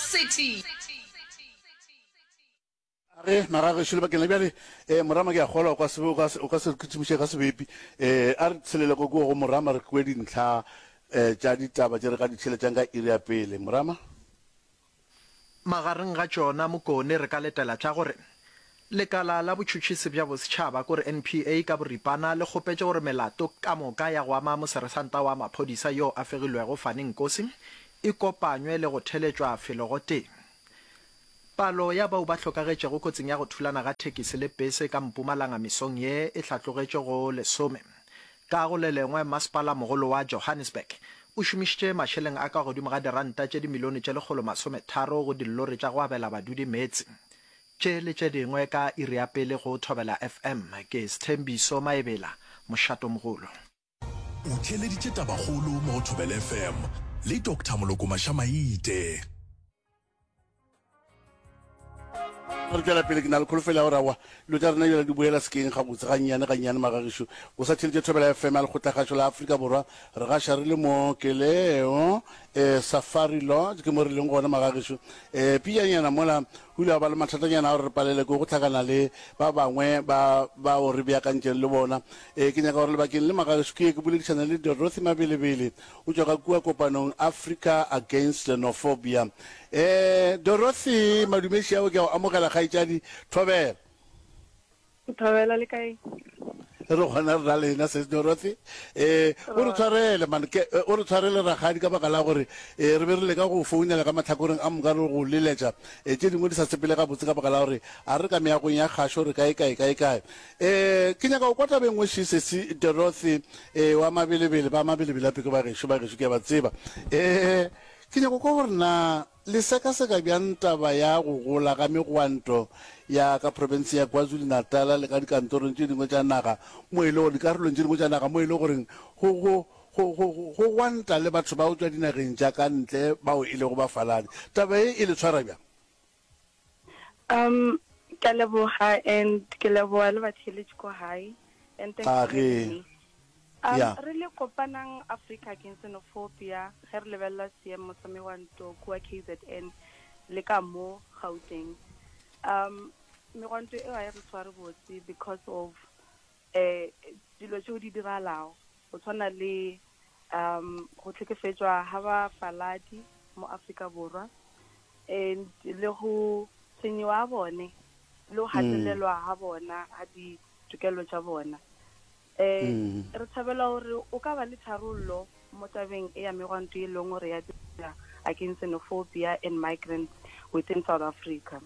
City. A re, Magagešo, lebakeng la bjale, eh, Morama ke a kgolwa o ka se, o ka se, o ka se re kitimiše ka sebepi. Eh, a re tshelele ko kua go Morama re kwe dintlha eh, tša ditaba tše re ka di theeletšang ka iri ya pele. Morama? Magareng ga tšona Mokone re ka letela tša gore Lekala la Botšhotšhisi bja Bosetšhaba kore NPA ka boripana le kgopetše gore melato ka moka ya go ama moseresanta wa maphodisa yo a fegilwego Fani Nkosi e kopanywe le go theletšwa felo gotee. Palo ya bao ba hlokagetšego kotsing ya go thulana ga thekisi le pese ka Mpumalanga mesong ye e hlatlogetše go lesome. Ka go le lengwe, Masepala mogolo wa Johannesburg o šomišitše mašeleng a ka godimo ga diranta tše dimilione tše 130 go dillori tša go abela badudi meetse. Tše le tše dingwe ka iri ya pele go Thobela FM. Ke Sthembiso Maebela, Mošatomogolo. O theeleditše Tabakgolo mo go Thobela FM le Doctor Moloko Mašamaite. Re tšwela pele, ke na le kholofelo ya gore aowa dilo tša rena bjale di boela sekeng gabotse gannyane gannyane. Magagešu, o sa theeletše Thobela FM ya Lekgotlakgašo la Afrika Borwa. Re gaša re le mo Keleo eh, Safari Lodge, ke mo re leng gona magagešu. Eh, pijanyana mola go ile gwa ba le mathatanyana a gore re palele ke go hlakana le ba bangwe ba bao re beakantšeng le bona. Eh, ke nyaka gore lebakeng le magagešu ke ye ke boledišane le Dorothy Mabelebele, O tšwa ka kua kopanong Africa Against Xenophobia. Eh, Dorothy, madumeši ao ke a o amogela kgaetšadi. Thobela. Thobela le kae? Re gona re na lena sis Dorothy. Eh, o re tshwarele man, ke eh, o re tshwarele rakgadi ka baka la gore eh, re be re leka go founela ka mahlakoreng a moka re go leletša eh, tše dingwe di sa sepele gabotse ka baka la gore a re ka meagong ya kgašo re kae kae kae kae. Eh, ke nyaka go kwa taba e nngwe še, sesi Dorothy, eh, wa Mabelebele, ba Mabelebele ape ke ba gešo, ba gešo ke a ba tseba. Eh, ke nyaka go kwa gore na le sekaseka bjang taba ya go gola ga megwanto ya ka profenseng ya KwaZulu-Natal le ka dikantorong tše dingwe tša naga mo e le gore, dikarolong tše dingwe tša naga mo e le goreng go, go, go, go, go gwanta le batho ba go tšwa dinageng tša ka ntle bao e lego bafaladi. Taba ye e le tshwara bjang? Um, ke a leboga and ke leboga le batheeletši ko gae and thanks for having me. Um, Yeah. re le kopanang Africa Against Xenophobia ge re lebelela seemo sa megwanto kua KZN le ka mo Gauteng. Um, megwanto eo ga e re tshware botse because of eh dilo tšeo di diragalago go tshwana le um go hlekefetšwa ga bafaladi mo Afrika Borwa and le go tshwenyiwa ga bone le go gatelelwa ga bona ga ditokelo tša bona. Um re thabela gore o ka ba le tharollo mo tabeng e ya megwanto e leng gore ya dira against xenophobia and migrants within South Africa.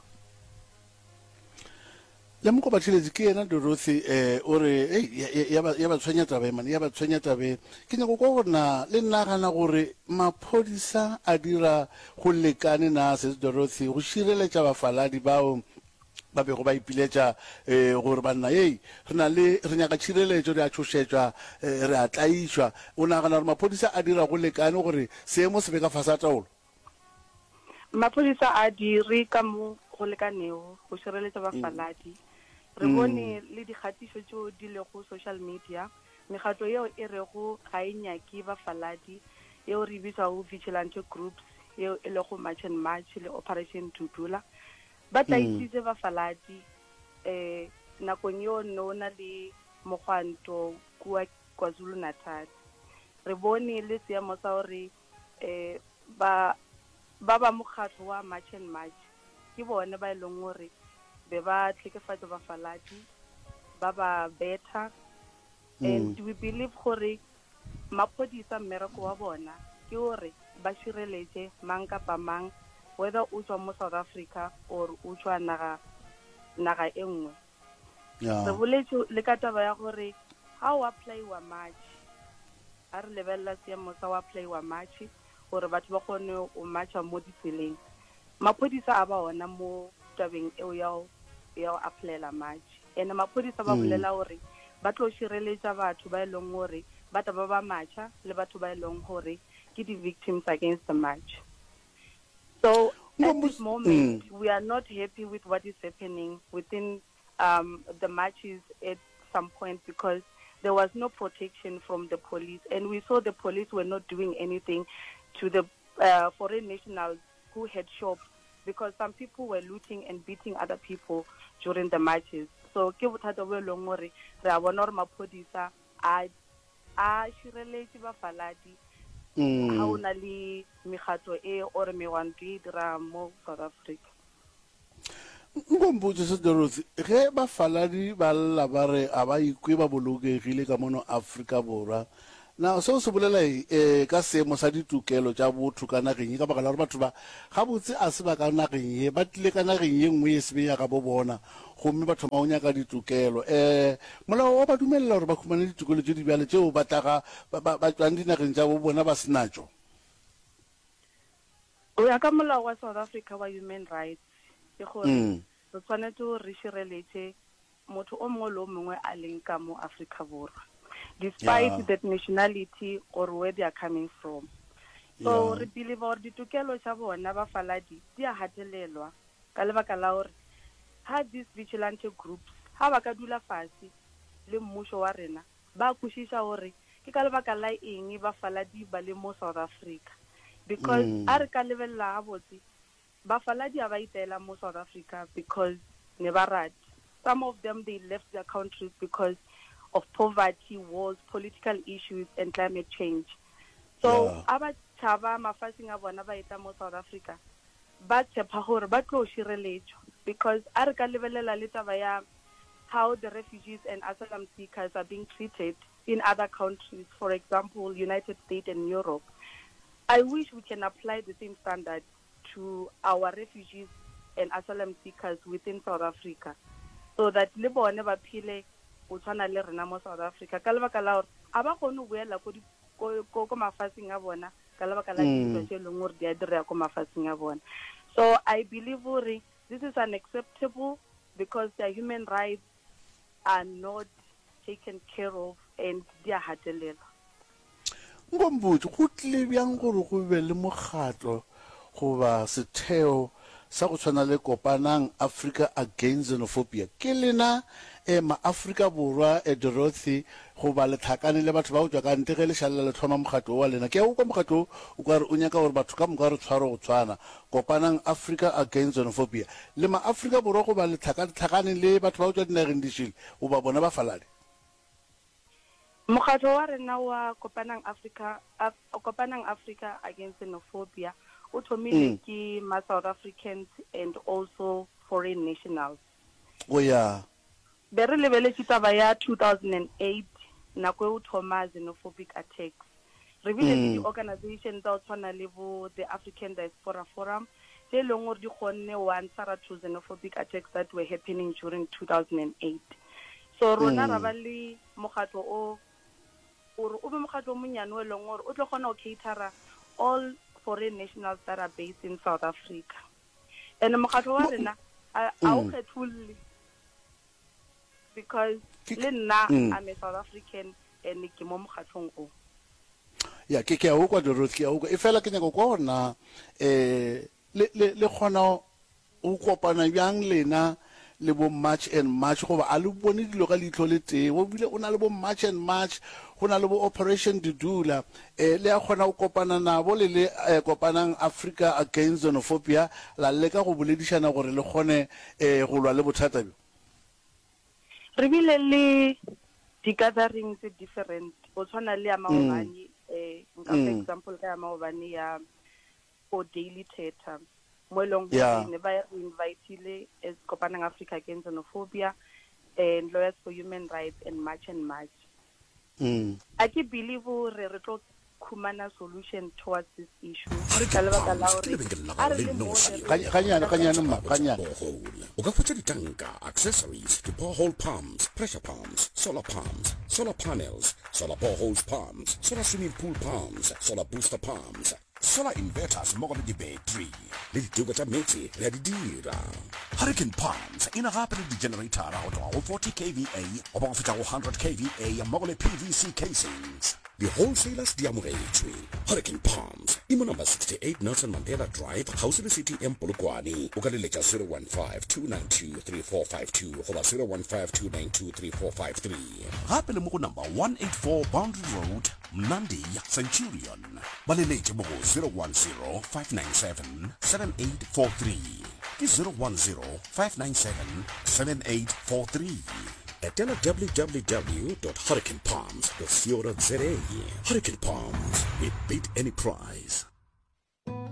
Lemogo Batheeletši, ke yena Dorothy, eh, o re, Ei, ya, ya, ya ba, ya ba tshwenya taba e, man, ya ba tshwenya taba e. Ke nyaka go kwa gore na le nagana gore maphodisa a dira go lekane na, Sis Dorothy, go šireletša bafaladi bao ba bego ba ipiletša, eh, gore banna, hei, re na le, re nyaka tšhireletšo, re a tšhošetšwa, eh, re a tlaišwa. O nagana gore maphodisa a dira go lekane gore seemo se be ka fase ga taolo? Maphodisa a dire ka mo go lekanego go šireletša bafaladi. Re bone le dikgatišo tšeo di lego social media, mekgatlo yeo e rego ga e nyake bafaladi, yeo re e bitšago vigilante groups, yeo e lego March and March le Operation Dudula, ba tlaišitše bafaladi um nakong yeo ne o na le mogwanto kua KwaZulu-Natal. Re bone le seemo sa gore um ba ba ba mokgatlo wa March and March ke bone ba e leng gore be ba tlhekefatša bafaladi, ba ba betha and we believe gore maphodisa mmereko wa bona ke gore ba šireletše mang kapa mang whether o tšwa mo South Africa or o tšwa naga naga e nngwe. Re boletše le ka taba ya gore ga o applyiwa March, ga re lebelela seemo sa go applyiwa March gore batho ba kgone go marcha mo ditseleng, maphodisa a ba ona mo tabeng eo ya go ya go applyela March. Ene maphodisa ba bolela gore ba tlo šireletša batho ba e leng gore ba tla ba ba marcha le batho ba e leng gore ke di-victims against the march. So at this moment, mm. we are not happy with what is happening within um, the marches at some point because there was no protection from the police. And we saw the police were not doing anything to the uh, foreign nationals. who had shops because some people were looting and beating other people during the marches. So ke bothata bo e leng gore re a bona gore maphodisa a a šireletše bafaladi ga o na le mekgatlo e or megwanto e dirang mo South Africa. Nko mpotše se Dorothy, ge bafaladi ba lla ba re a ba ikwe ba bolokegile ka mono Afrika Borwa, na seo se bolela eng eh, ka seemo sa ditokelo tša botho ka nageng ye? Ka baka la gore batho ba gabotse a se ba ka nageng ye, ba tlile ka nageng ye nngwe ye se be ya gabo bona, gomme ba thoma go nyaka ditokelo. Eh, molao wa ba dumelela gore ba humane ditokelo tše di bjalo tšeo ba tlaga ba, ba, ba tšwang dinageng tša bo bona ba se natšo? Go ya ka molao wa South Africa wa Human Rights, ke gore re tshwanetse gore re šireletše motho o mongwe le o mongwe a leng ka mo Afrika Borwa, despite yeah. that nationality or where they are coming from. So yeah. re believe gore ditokelo tša bona bafaladi di a hatelelwa ka lebaka la gore ha these vigilante groups ha ba ka dula fase le mmušo wa rena Ba kwešiša gore ke ka lebaka la eng bafaladi ba le mo South Africa. Because a re ka lebelela gabotse, bafaladi a ba itela mo South Africa because ne ba rata. Some of them they left their countries because of poverty, wars, political issues and climate change. So a ba tšhaba mafaseng a bona ba etla mo South Africa, ba tshepa gore ba tlo šireletšwa. Because a re ka lebelela le taba ya how the refugees and asylum seekers are being treated in other countries, for example, United States and Europe. I wish we can apply the same standard to our refugees and asylum seekers within South Africa, so that le bone ba phele go tshwana le rena mo South Africa, ka lebaka la gore a ba kgone go boela ko ko ko ko mafatsheng a bona ka lebaka la dintwa tše e leng gore di a direga ko mafatsheng a bona. So I believe gore this is unacceptable because their human rights are not taken care of and di a gatelelwa. Nko mpotše, go tlile bjang gore go be le mokgatlo goba setheo sa go tshwana le Kopanang Africa Against Xenophobia? Ke lena eh, ma-Afrika Borwa eh, Dorothy, goba le hlakane le batho ba go tšwa ka ntle ge le šalela le hloma mokgatlo wo wa lena? Ke a o kwa mokgatlo wo o ka re o nyaka gore batho ka moka re tshwarwe go tshwana. Kopanang Africa Against Xenophobia. Le ma-Afrika Borwa goba le hlakahlakane le batho ba go tšwa dinageng dišele goba bona bafaladi? Mokgatlo wa rena wa Kopanang Africa, Af, Kopanang Africa Against Xenophobia o thomile ke ma-South Africans and also foreign nationals. Go ya. Be re lebeletše taba ya 2008 nako e o thoma xenophobic attacks. Re bile le di-organisation tsa go tshwana le bo the African Diaspora Forum tše e leng gore di kgonne go answera to xenophobic attacks that were happening during 2008. So rona ra ba le mokgatlo o gore o be mokgatlo o monnyane o e leng gore o tlo kgona go catera all foreign nationals that are based in South Africa. And mokgatlo wa rena a o kgetholle because le nna I'm a South African and ke mo mokgatlong o. Ya, ke, ke a o kwa, Dorothy, ke a o kwa. Efela ke nyaka go kwa gore na eh, le, le, le kgona go kopana bjang lena le bo March and March, goba a le bone dilo ka leihlo le tee? Go bile o na le bo March and March, go na le bo Operation Dudula. Eh, le a kgona go kopana nabo le le eh, Kopanang Africa Against Xenophobia, la leka go boledišana gore le kgone eh, go lwa le bothata bjo? Re bile le di-gathering tse different, go tshwana le ya maobane, eh, nka fa example ka ya maobane ya ko Daily Thetha, mo e leng gore Yeah. ne ba re invitile as Kopanang Africa Against Xenophobia and Lawyers for Human Rights and March and March. A ke believe gore re tlo khumana solution towards this issue ka lebaka la Ke gore lebenkele la a gago re le le mo nnoši re Ga- Gannyane, gannyane mma, gannyane. borehole. O ka hwetša ditanka, accessories, di-borehole pumps, pressure pumps, solar pumps, solar panels, solar boreholes pumps, solar swimming pool pumps, solar booster pumps, solar inverters mmogo le di-battery le diteko tša meetse re a di dira. Hurricane Pumps e na gape le di-generator go tloga go 40 kVA go ba go fihla go 100 kVA mmogo le PVC casings. Di-wholesalers di amogetšwe. Hurricane Pumps. E mo number 68 Nelson Mandela Drive, kgauswi le CTM Polokwane. O ka leletša 015-292-3452 goba 015-292-3453. Gape le mo go number 184 Boundary Road, Mnandi, Centurion. Ba leletše mo go 010-597-7843. Ke 010-597-7843. Etela www.hurricanepalms.co.za. Hurricane Palms, we beat any price.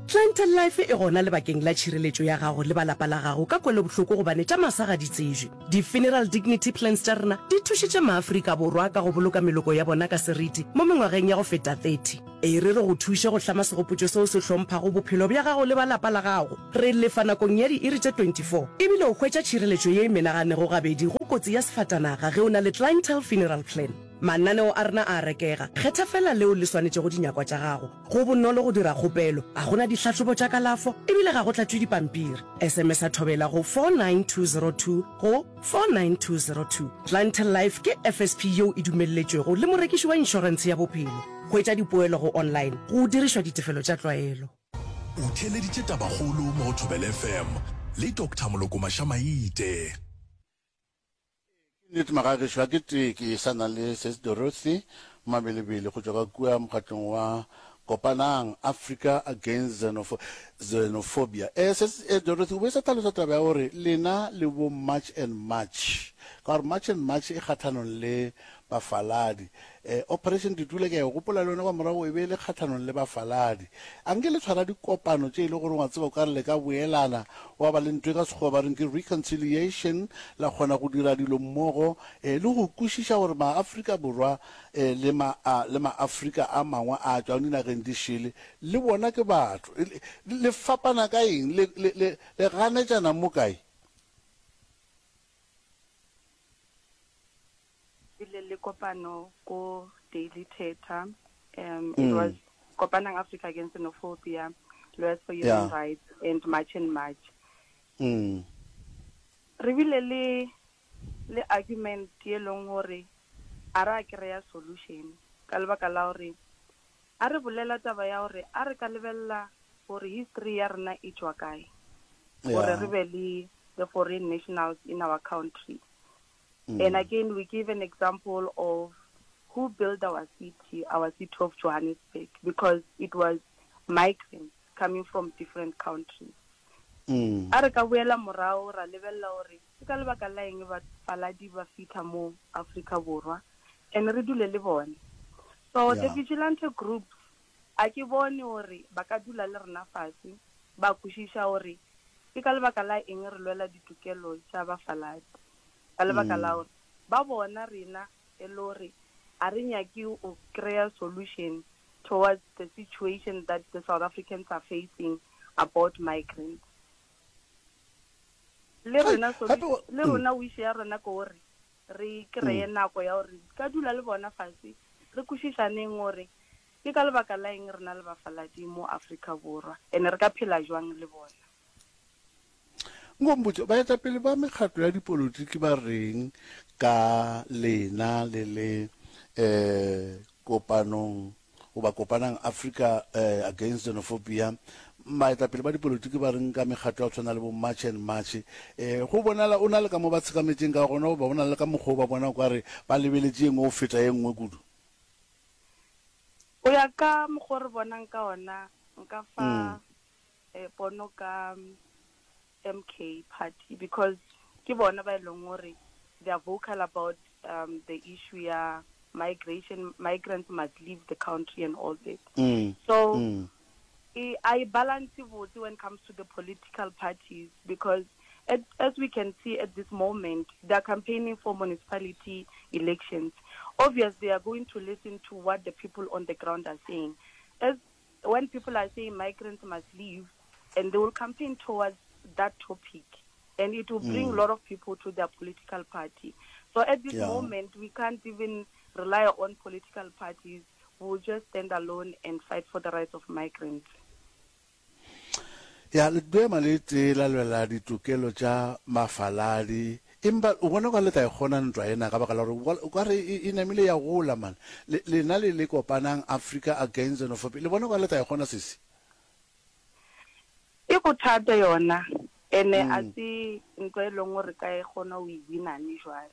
Clientele Life e gona lebakeng la tšhireletšo ya gago le ba lapa la gago ka kwelobohloko gobane tša masa ga di tsebje. Di-Funeral Dignity Plans tša rena di thušitše maAfrika Borwa ka go boloka meloko ya bona ka seriti mo mengwageng ya go feta 30. E re re go thuše go hlama segopotšo seo se hlomphago bophelo bja gago le ba lapa la gago. Re lefa nakong ya diiri tše 24 ebile o hwetša tšhireletšo ye e menaganego gabedi go kotsi ya sefatanaga ge o na le Clientele Funeral Plan. Mananeo a rena a a rekega. Kgetha feela leo le swanetšego dinyakwa tša gago. Go bonolo go dira kgopelo, ga go na dihlahlobo tša kalafo e bile ga go tlatšwe dipampiri. SMS-a Thobela go 49202 go 49202. Clientele Life ke FSP yeo e dumelletšwego le morekiši wa inšorentshe ya bophelo. Hwetša dipoelo go online go dirišwa ditefelo tša tlwaelo. O theeleditše Tabakgolo mo go Thobela FM le Doctor Moloko Mašamaite. Ke nnete magagešo, ga ke tee ke sa na le Sis Dorothy Mabelebele go tšwa ka kua mokgatlong wa Kopanang Africa Against Xenophobia. Eh, Sis eh, Dorothy, o be sa hlalosa taba ya gore lena le bo March and March, ka gore March and March e kgathanong le bafaladi. Eh, Operation Dudula ke a e gopola le yona kwa morago e be e le kgathanong le bafaladi. A nke le tshwara dikopano tše e le gore wa tseba o ka re le ka boelana, wa ba le ntho e ka Sekgowa ba reng ke reconciliation, la kgona go dira dilo mmogo eh, le go kwešiša gore Maafrika Borwa eh, le ma, a, le Maafrika a mangwe a tšwang dinageng di šele le bona ke batho. Le, le fapana ka eng? Le, le, le, le ganetšana mo kae? Bile le kopano ko Daily Thetha. Um, it was Kopanang Africa Against Xenophobia, Lawyers for Human Yeah. Rights, and March and March. Mm. Re bile le le argument ye leng gore a ra kry-a solution ka lebaka la gore a re bolela taba ya gore a re ka lebelela gore history ya rena e tšwa kae gore Yeah. re be le the foreign nationals in our country. And again, we give an example of who built our city, our city of Johannesburg, because it was migrants coming from different countries. A re ka boela morago ra lebelela gore ke ka lebaka la eng bafaladi ba fihla mo Afrika Borwa and re dule le bone. So the Yeah. vigilante groups a ke bone gore ba ka dula le rena fase ba kwešiša gore ke ka lebaka la eng re lwela ditokelo tša bafaladi. Ka lebaka la gore ba bona rena e le gore a re nyake go kry-a solution towards the situation that the South Africans are facing about migrants. Le rena le rona wish ya rena ke gore re kry-e nako ya gore ka dula le bona fase re kwešišaneng gore ke ka lebaka la eng re na le bafaladi mo Afrika Borwa and re ka phela jwang le bona. Nko mpotše, baetapele ba mekgatlo ya dipolotiki ba reng ka lena le le um kopanong goba kopanang Africa um Against Xenophobia? Baetapele ba dipolotiki ba reng ka mekgatlo ya go tshwana le bo March and March? Um go bonala o na le ka mo ba tshekametšeng ka gona goba go na le ka mokgwa o ba bona o ka re ba lebeletše ye nngwe go feta ye nngwe kudu? Go ya ka mokgwa o re bonang ka ona, nka fa pono ka MK party because ke bona ba e leng gore they are vocal about um, the issue ya migration, migrants must leave the country and all that. So e, I balance botse when it comes to the political parties because at, as we can see at this moment, they are campaigning for municipality elections. Obviously, they are going to listen to what the people on the ground are saying. As when people are saying migrants must leave, and they will campaign towards that topic, and it will bring a lot of people to their political party. So at this Yeah. moment, we can't even rely on political parties. We will just stand alone and fight for the rights of migrants. Ya, le tlo ema le tee la lwela ditokelo tša mafaladi. Empa o bona o ka le tla e kgona ntwa ena ka baka la gore o ka re e, e namile ya gola man. Le, lena le le kopanang Africa Against Xenophobia, le bona o ka le tla e kgona sesi? E bothata yona, ene a se ntwa e leng gore re ka e kgona go e wina ne jwale.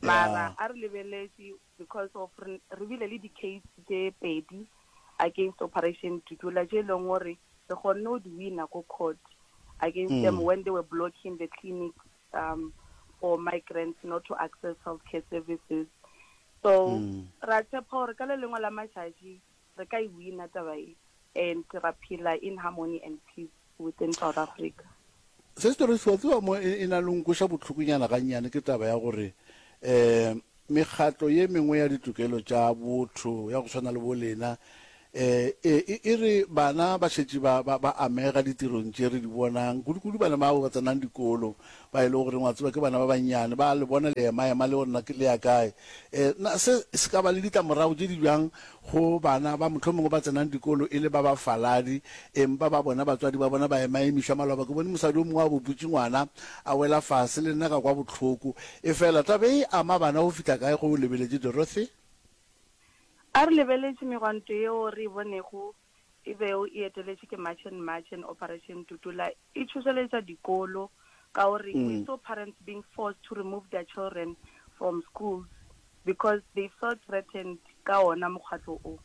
Mara a re lebeletše because of re re bile le di-case tše pedi against Operation Dudula tše e leng gore re kgonne go di wina ko court against them when they were blocking the clinics um, for migrants not to access healthcare services. So ra tshepa gore ka le lengwe la matšatši re ka e wina taba e and ra phela in harmony and peace within South Africa. Se se wa tseba mo e, e na le nkweša bohlokonyana gannyane ke taba ya gore um mekgatlo ye mengwe ya ditokelo tša botho ya go swana le bo lena um e, e re bana ba šetše ba, ba, ba amega ditirong tše re di bonang kudu-kudu bana bao ba tsenang dikolo ba e le goreng wa tseba ke bana ba bannyane ba le bona le ema-ema le gore na le ya kae um na se se ka ba le ditlamorago tše di bjang Go bana ba mohlomongwe ba tsenang dikolo e le ba bafaladi, empa ba bona batswadi ba bona ba emaemišwa. Maloba ke bone mosadi o mongwe a boputše ngwana a wela fase, le nna ka kwa bohloko. Efela taba e ama bana go fihla kae ge o lebeletše Dorothy? A re lebeletše megwanto yeo re e bonego e bego e eteletšwe ke March and March and Operation Dudula e tšhošeletša dikolo ka gore we saw parents being forced to remove their children from schools because they felt threatened ka ona mokgatlo o.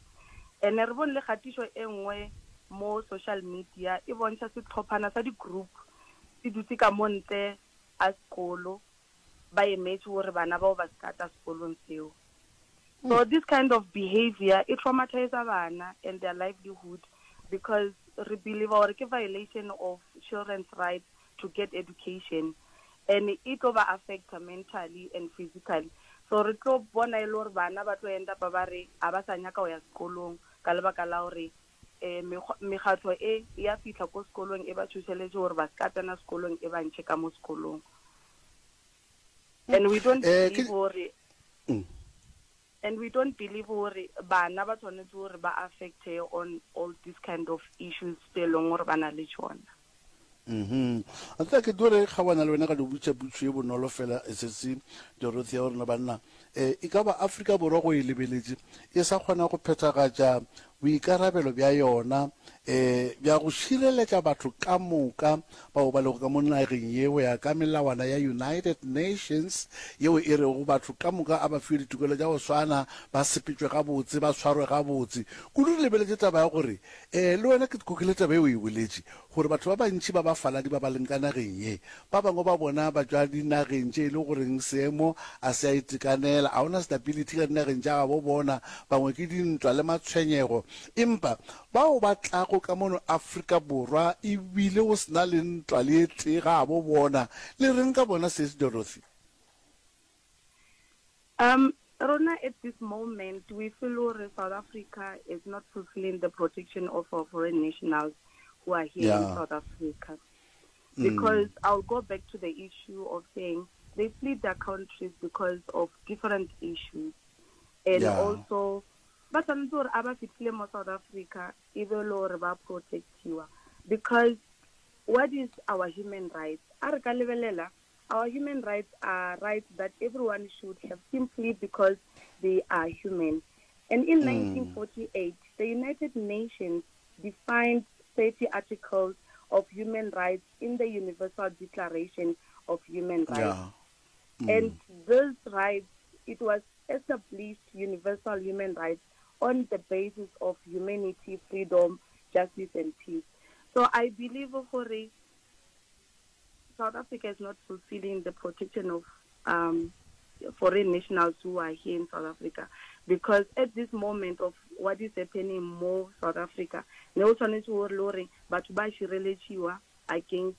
Ene re bone le kgatišo e nngwe mo social media e bontšha sehlophana sa di-group se dutse ka mo ntle a sekolo ba emetše gore bana bao ba se ka tla sekolong seo. So this kind of behavior e traumatisa bana and their livelihood because re believe gore ke violation of children's rights to get education and e tlo ba affecta mentally and physically. So re tlo bona e le gore bana ba tlo end up ba re a ba sa nyaka go ya sekolong ka lebaka la gore um mekgatlo e ya fihla ko sekolong e ba tšhošeletše gore ba se ka tsena sekolong e ba ntšhe ka mo sekolong. And we don't Eh, ke believe gore and we don't believe gore bana ba tshwanetse gore ba affecte on all these kind of issues tse e leng gore ba na le tšona. Mhm. A tseba ke tlo re kgawana le wena ka di botša putšo ye bonolo fela sesi Dorothy ya gore banna eh e ka ba Afrika Borwa go e lebeletše e sa kgona go phethagatša boikarabelo bja yona eh bja go šireletša batho ka moka bao ba lego ka mo nageng ye go ya ka melawana ya United Nations yeo e rego batho ka moka a ba fiwe ditokelo tša go swana ba sepetšwe gabotse ba swarwe gabotse kudu re lebeletše taba ya gore eh le wena ke kokile taba e o e boletše gore batho ba bantši ba bafaladi ba ba leng ka nageng ye, ba bangwe ba bona ba tšwa dinageng tše e le goreng seemo a se a itekanela, a gona stability ka dinageng tša gabo bona, bangwe ke dintwa le matshwenyego. Empa bao ba tlago ka mono Afrika Borwa e bile go se na le ntwa le e tee gabo bona, le reng ka bona Sis Dorothy? Um, rona at this moment we feel gore South Africa is not fulfilling the protection of our foreign nationals who are here in Yeah. South Africa. Because I'll go back to the issue of saying they fled their countries because of different issues. And Yeah. also, ba tshwanetse gore a ba fitlhile mo South Africa e be le gore ba protectiwa. Because what is our human rights? A re ka lebelela Our human rights are rights that everyone should have simply because they are human. And in 1948, the United Nations defined 30 articles of human rights in the Universal Declaration of Human Rights. Yeah. And those rights, it was established universal human rights on the basis of humanity, freedom, justice, and peace. So I believe gore South Africa is not fulfilling the protection of um, foreign nationals who are here in South Africa because at this moment of what is happening mo South Africa ne o tshwanetse gore le gore batho ba šireletšiwa against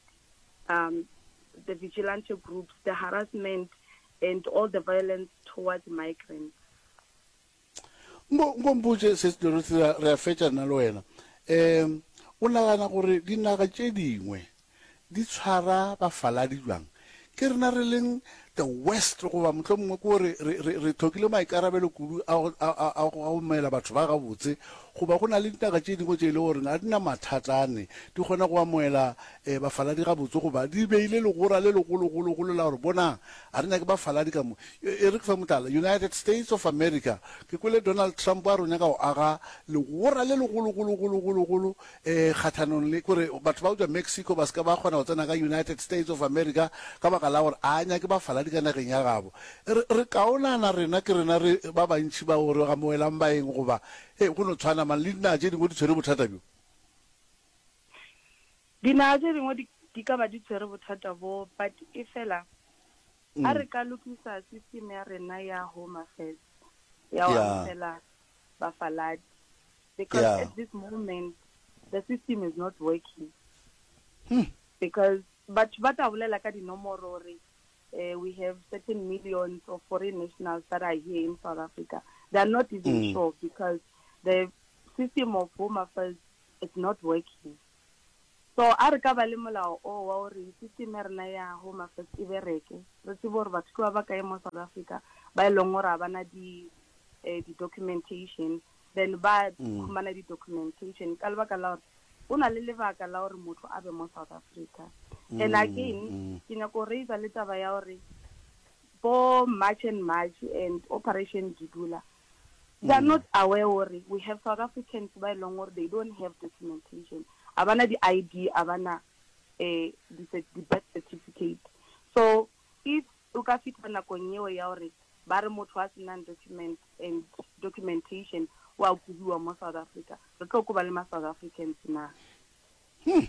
um, the vigilante groups, the harassment and all the violence towards migrants. Nko, nko mpotše se Dorothy, re a, re a fetša nna le wena. Um, o nagana gore dinaga tše dingwe di tshwara bafaladi bjang? Ke rena re leng the West goba mohlomongwe ke gore re, re, re hlokile maikarabelo kudu a go, a, a, a go amogela batho ba gabotse. Goba go na le dinaga tše dingwe tše e le gore ga di na mathata ane, di kgona go amoela um bafaladi gabotse, goba di beile legora le legologologolo la gore bonang, ga re nyake bafaladi ka mo. E re ke fe mohlala, United States of America, ke kwele Donald Trump a re o nyaka go aga legora le legologologologolo um kgahlanong le, kore batho ba go tšwa Mexico ba se ka ba kgona go tsena ka United States of America ka baka la gore a nyake bafaladi ka nageng ya gabo. Re, re kaonana rena, ke rena re ba bantši bao re amogelang baeng goba, hei, go no tshwana man, le dinaga tše dingwe di tshwere bothata bjo. Dinaga tše dingwe di, di ka ba di tshwere bothata bo, but efela a re ka lokisa system ya rena ya Home Affairs ya go amogela bafaladi, because at this moment the system is not working. Because batho ba tla bolela ka dinomoro gore we have certain millions of foreign nationals that are here in South Africa. They are not even sure because the system of Home Affairs is not working. So a re ka ba le molao o wa gore system ya rena ya Home Affairs e bereke, re tsebe gore batho ke ba ba kae mo South Africa ba e leng gore ga ba na di di-documentation, then ba khumana di-documentation ka lebaka la gore go na le lebaka la gore motho a be mo South Africa. And again, ke nyaka go raiser le taba ya gore bo March and March and Operation Dudula, they are not aware gore we have South Africans ba e leng gore they don't have documentation, ga ba na di-I_D, ga ba na di-birth certificate. So if o ka fihla nakong yeo ya gore ba re motho a senang document and documentation o a kobiwa mo South Africa, re tlo koba le ma South Africans na? Hmm.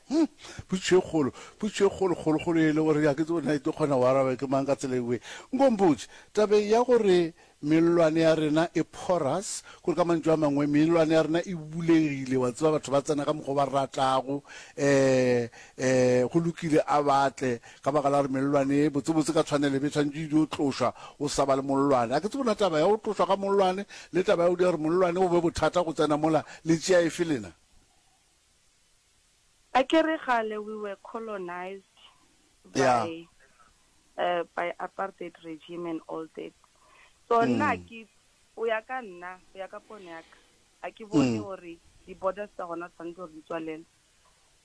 Hmm. Potšišo e kgolo, potšišo e kgolo, kgolo, kgolo e le gore ga ke tsebe na e tlo kgona go araba ke mang ka tsela ewe. Nko mpotše, tabeng ya gore mellwane ya rena e porous, kore ka mantšu a mangwe mellwane ya rena e bulegile, wa tseba batho ba tsena ka mokgwa o ba ratago, um um go lokile a ba tle, ka baka la gore mellwane e botsebotse ka tshwanelo e be e tshwanetše e dio tlošwa o sa ba le mollwane. A ke tsebe na taba ya go tlošwa ga mollwane le taba ya go dira gore mollwane o be bothata go tsena mola le tšea efe lena? Akere kgale we were colonized Yeah. by uh, by apartheid regime and all that. So nna ke o ya ka nna, go ya ka pono ya ka, a ke bone gore di-borders tsa gona tshwanetse gore di tswalelwe.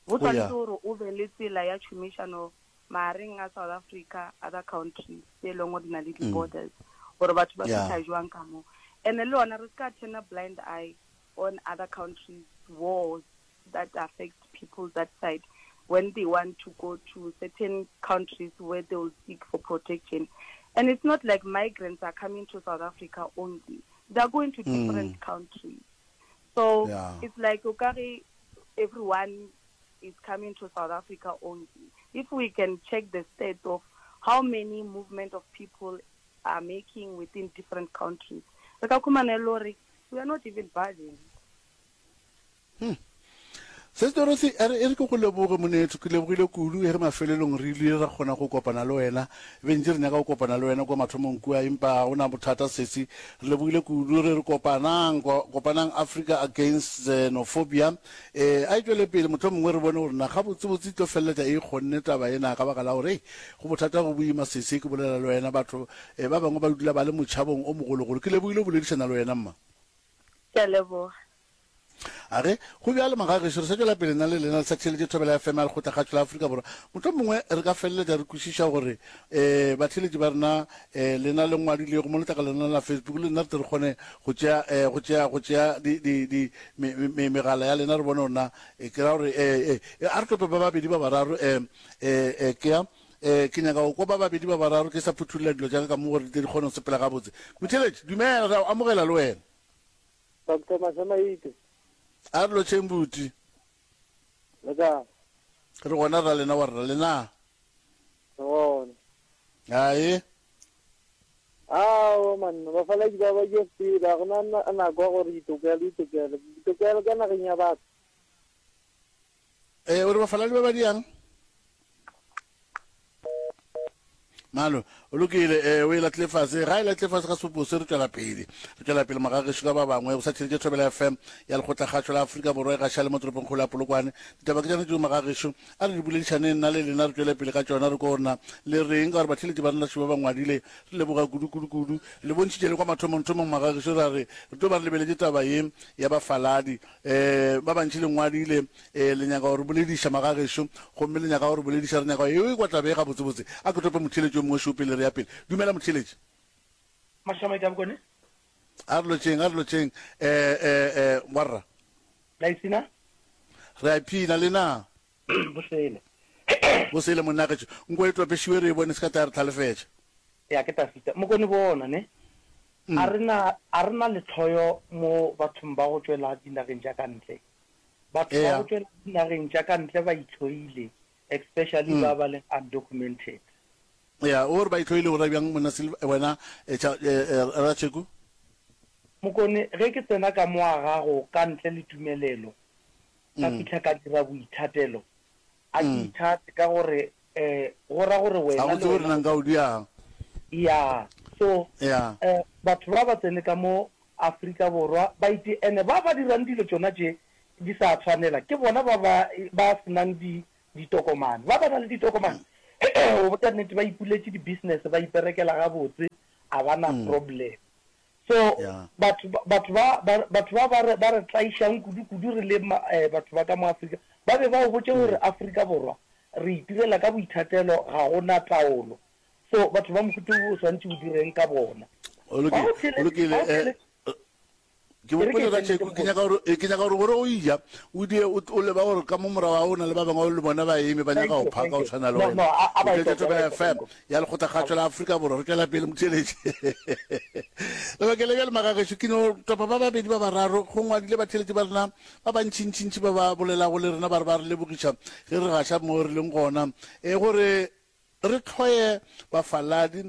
Go Oh, yeah. tshwanetse gore o be le tsela ya tšhomišano magareng a South Africa, other countries tse e leng gore di na le di-borders, gore batho ba Yeah. fihla jwang ka mo. And-e le yona re se ka turn a blind eye on other countries wars that affect people that side when they want to go to certain countries where they will seek for protection. And it's not like migrants are coming to South Africa only. They are going to different countries. So Yeah. it's like okare everyone is coming to South Africa only. If we can check the state of how many movement of people are making within different countries, re ka khumana e le gore we are not even burdened. Sis Dorothy, a re e re ke go leboge monetho, ke lebogile kudu ge mafelelong re ile ra kgona go kopana le wena. Be ntše re nyaka go kopana le wena kua mathomong kua, empa ga go na bothata sesi. Re lebogile kudu, re re kopanang, kopanang Africa Against Xenophobia. Eh, a e tšwele pele, mohlomongwe re bone gore na gabotsebotse e tlo feleletša e kgonne taba ena ka baka la gore, hei, go bothata go boima sesi, ke bolela le wena, batho eh, ba bangwe ba dula ba le motšhabong o mogologolo. Ke lebogile go boledišana le wena mma. Ke a leboga. A re, Go bjalo, magagešo, re sa tšwela pele nna le lena le sa theeletše Thobela FM ya Lekgotlakgatšo la Afrika Borwa. Mohlomongwe re ka feleletša re kwešiša gore um batheeletši ba rena um lena le ngwadilego mo letlakaleng lena la Facebook le nna re tle re kgone go tšea um go tšea go tšea di di di me me megala ya lena re bone gore na ke ra gore um a re tope ba babedi ba bararo um um ke ya um ke nyaka go kwa ba babedi ba bararo ke sa phuthulla dilo tša ka ka mo gore di tle di kgone go sepela gabotse. Motheeletši, dumela, re a o amogela le wena. Doctor Mashamaite. A re lotšheng buti. Le kae? Re gona ra lena wa rra le na? Re gona. Ae. Aowa manna bafaladi ba ba ke fela go na nako ya gore ditokelo ditokelo ditokelo ka nageng ya batho. Eh, o re bafaladi ba ba diang? Malo, o lokile, eh, o e latlile fase. Ga e latlile fase ga sepopo se, re tšwela pele. Re tšwela pele magagešo ka ba bangwe. O sa theletše Thobela FM ya Lekgotlakgašo la Afrika Borwa e gaša le mo toropongkgolo ya Polokwane. Ditaba ke tšona tšeo magagešo. A re di boledišaneng nna le lena re tšwele pele ka tšona re ko gore na le reng ka gore batheeletši ba rena šeba ba ngwadile. Re leboga kudu kudu kudu. Le bontšhitše le kwa mathomongthomong magagešo ra re re tlo ba re lebeletše taba ye ya bafaladi. Eh, ba bantši le ngwadile Ee, le nyaka go re bolediša, magagešo, gomme le nyaka go re bolediša, re nyaka go e kwa taba ye gabotsebotse. A ke tope motheeletši yo mongwe šo pele re ya pele. Dumela, motheeletši. Mashamaite a Bokone. A re lotšeng, a re lotšeng. Eh, eh, eh, warra. La ipshina? Re a iphina, le na? Bosele. Bosele, monnagešo. Nko e topešiwe re e bone, se ka tla ya re hlalefetša. Ya, ke Tafita. Mokone bona, ne? A re na, a re na lehloyo mo bathong ba go tšwela dinageng tša ka ntle. Batho ba go tšwela dinageng tša ka ntle ba itlhoile, especially ba ba leng undocumented. Ya, o re ba itlhoile o ra bjang monna Silva, wena Ratšheku? Mokone, ge ke tsena ka mo ga gago ka ntle le tumelelo, ka fihla ka dira boithatelo, a ke ithate ka gore um go ra gore wena le wena. Ga o nka o diang. Ya, so um batho ba ba tsene ka mo Afrika Borwa ba ite ene ba ba dirang dilo tšona tše di sa tshwanela ke bona ba ba ba senang di ditokomane. Ba ba nang le ditokomane go botša nnete ba ipuletše di business ba iperekela gabotse a ba na problem. So batho batho ba batho ba ba re ba re tlaišang kudu kudu re le batho ba ka mo Afrika ba be ba o botše gore Afrika Borwa re itirela ka boithatelo ga go na taolo. So batho ba mohuta wo o swanetše o direng ka bona? O lokile, o lokile. Ke bopole ka tšeko, ke nyaka gore ke nyaka gore gore o ija o die o leba gore ka mo morago ga o na le ba bangwe le bona ba eme ba nyaka go phaka o tshwana le wena. O tletše Thobela FM ya Lekgotlakgašo la Afrika Borwa. Re tšwela pele motheeletši. Lebakeng le bjale magagešo ke no topa ba babedi ba bararo go ngwadile batheeletši ba rena ba bantšintšintši ba ba bolelago le rena ba re ba re lebogiša ge re gaša mo re leng gona e gore Re hloye bafaladi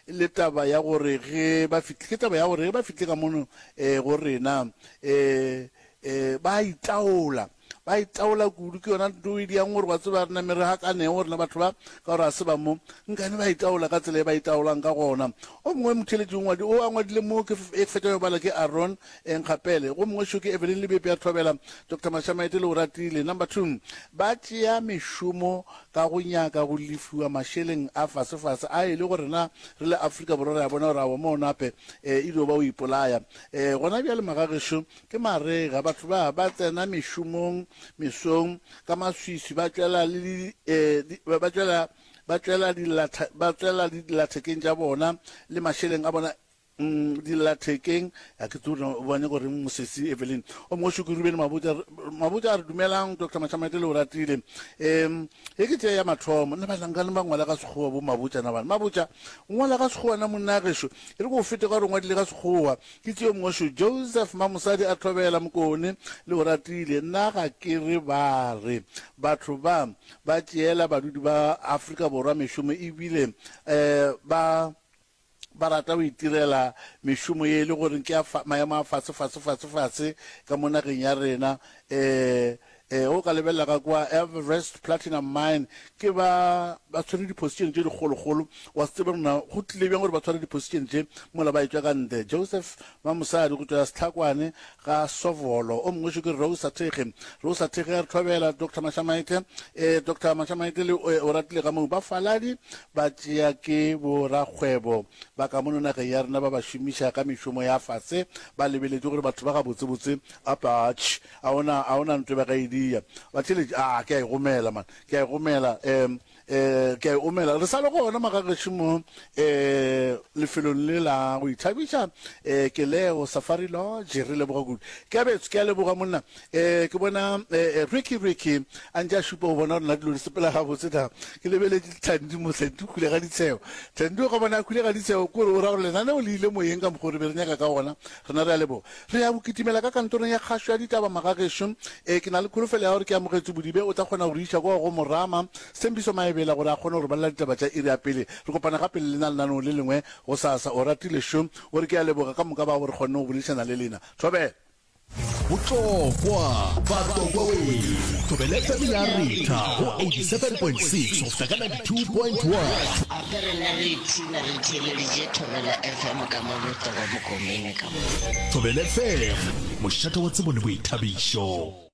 le taba ya gore ge ba fihlile, ke taba ya gore ge ba fihlile ka mono eh, go rena eh, eh, ba a itaola, ba itaola kudu. Ke yona nto e diang gore wa tseba re name re gakanego rena batho ba, ka gore ga se ba mo, nkane ba itaola ka tsela e ba itaolang ka gona. O mongwe motheeletši o ngwadi, o a ngwadile mo ke e fetša go bala ke Aaron Nkgapele, go mongwe šo ke Evelyn Lebepe ya Thobela, Doctor Mashamaite le Oratile. Number 2, ba tšea mešomo ka go nyaka go lefiwa mašeleng a fasefase a e le gore rena re le Afrika Borwa re a bona gore aowa mo nape e dio ba o ipolaya. Gona bjale magagešo ke marega, batho ba ba tsena mešomong mesong ka maswiswi ba tšwela le ba tšwela ba tšwela ba tšwela dillathekeng tša bona le mašeleng a bona Mm, dillathekeng a ke tsore o bone gore mosesi Evelyn o mongwe šuku Ruben Mabotja Mabotja a re dumelang Dr Mashamaite le o ratile um e ke tee ya mathomo nna bahlankane ba ngwala ka sekgowa bo Mabotja na bana Mabotja o ngwala ka sekgowa na monna gešo e re ko o fete ka gore o ngwadile ka sekgowa ke tee yo mongwe šo Joseph Mamosadi a thobela Mokone le o ratile nna ga ke re ba re batho ba ba tšeela badudi ba Afrika Borwa mešomo ebile um ba ba rata go itirela mešomo ye e le gore ke ya maemo a fase fase fase fase ka mo nageng ya rena. Um um o ka lebelela ka kwa Everest Platinum Mine ke ba ba tshwere di-position tše dikgolokgolo, wa se tsebe gore na go tlile bjang gore ba tshware di-position tše mola ba etšwa ka ntle. Joseph Mamosadi go tšwa Sehlakwane ga Sovolo, o mongwe šo ke Rosa Thekge. Rosa Thekge a re thobela Doctor Mashamaite. Eh, Doctor Mashamaite le eh, o ratile ka moo bafaladi ba tšea ke borakgwebo ba ka mono nageng ya rena ba ba šomiša ka mešomo ya fase ba lebeletše gore batho ba gabotsebotse apatš a ona a ona ntwe ba ka e dia batheletši a ke a e gomela man ke a e gomela um Eh, ke a e omela. Re sa le gona magagešo mo eh, lefelong le la go ithabiša eh, ke leo Safari Lodge. Re leboga kudu. Ke a betso, ke a leboga monna. Eh, ke bona eh, eh, Ricky Ricky a ntše a šupa go bona gore na dilo di sepela gabotse na. Ke lebeletše Thandi mo, Thandi o hwile ga ditshego. Thandi o ka bona a hwile ga ditshego, ke gore o ra gore lenaneo le ile moyeng ka mokgwa o re be re nyaka ka gona. Rena re a leboga. Re ya go kitimela ka kantorong ya kgašo ya ditaba magagešo. Ee, ke na le kholofelo ya gore ke amogetše Bodibe o tla kgona go re iša kua go Morama Sthembiso Maebela gore a kgone go re balela ditaba tša iri ya pele. Re kopana gape le lena lenaneong le lengwe gosasa. Oratile šo o re ke a leboga ka moka bao re kgonnego go boledišana le lena. Thobela. Botlokwa, Batlokwa wee! Thobela FM ya retha go 87.6 go fihla ka 92.1. Gape rena re ipshina re theeleditše Thobela FM ka mo Letogo Mokomene ka mo. Thobela FM, mošate wa tsebo le boithabišo.